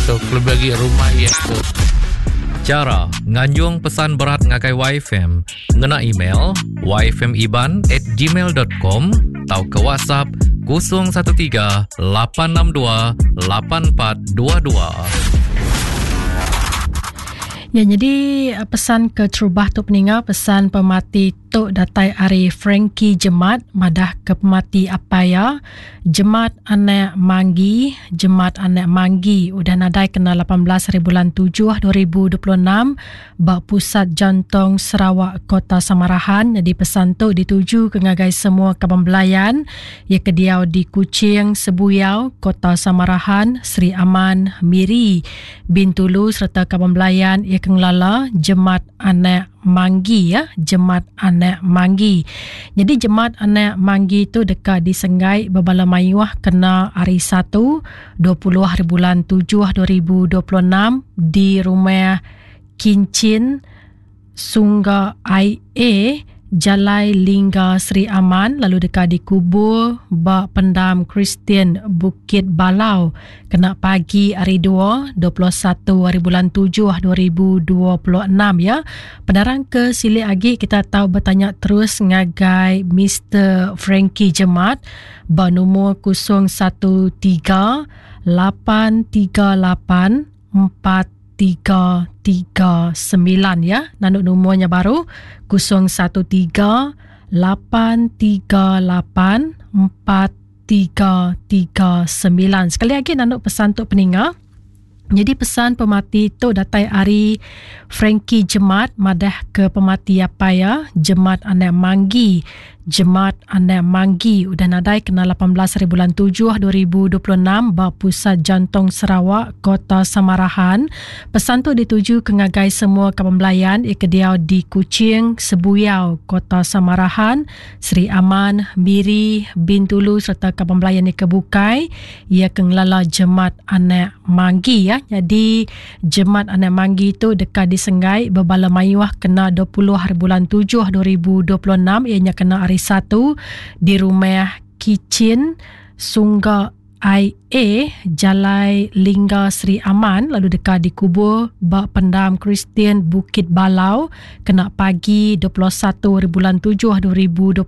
tu kelebih agi rumah iya tu. Chara nganjung pesan berat ngagai YFM ngena email yfmiban at gmail dot com tauka WhatsApp 013 862 8422. Ya nyadi pesan ke terubah tu peninga pesan pemati tu datai ari Frankie Jemat madah ke pemati apai iya Jemat anak Manggi Jemat anak Manggi udah nadai kena 18 hari bulan 7 2026 ba Pusat Jantong Sarawak Kota Samarahan nyadi pesan tu dituju ke ngagai semua kaban belayan iya ke diau di Kuching, Sebuyau, Kota Samarahan, Sri Aman, Miri, Bintulu sereta kaban belayan iya ke ngelala Jemat anak Manggi ya, Jemat anak Manggi. Nyadi Jemat anak Manggi tu deka disenggai bebala mayuh kena hari Satu, 20 hari bulan 7 2026 di Rumah Kinchin Sungga IA, Jalai Lingga Sri Aman lalu deka dikubur ba Pendam Kristian Bukit Balau kena pagi hari Dua, 21 hari bulan 7 2026 ya. Penerang ke silik agi kita tau betanya terus ngagai Mister Frankie Jemat ba numur 013 838 4339 ya. Nanduk numurnya baru 013 838 4339. Sekali lagi nanduk pesan tu peninga. Jadi pesan pemati tu datai ari Frankie Jemat madah ke pemati apai iya Jemat anak Manggi. Jemat anak Manggi udah nadai kena 18 hari bulan 7 2026 ba Pusat Jantung Sarawak, Kota Samarahan. Pesan tu dituju ke ngagai semua kaban belayan iya ke diau di Kuching, Sebuyau, Kota Samarahan, Sri Aman, Miri, Bintulu sereta kaban belayan iya ke bukai. Iya ke ngelala Jemat anak Manggi ya. Nyadi Jemat anak Manggi tu deka disenggai bebala mayuh kena 20 hari bulan 7 2026 iya nya kena hari Satu di Rumah Kichin Sungga IA Jalai Lingga Sri Aman lalu deka dikubur ba Pendam Kristian Bukit Balau kena pagi 21 hari bulan 7 2026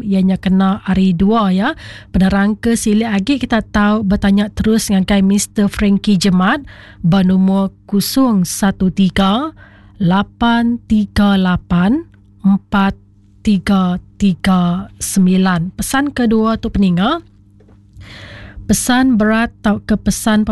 iya nya kena hari Dua ya. Penerang ke silik agi kita tau betanya terus ngagai Mister Frankie Jemat ba numur 013 838 4339. Pesan kedua tu peninga. Pesan berat tauka pesan.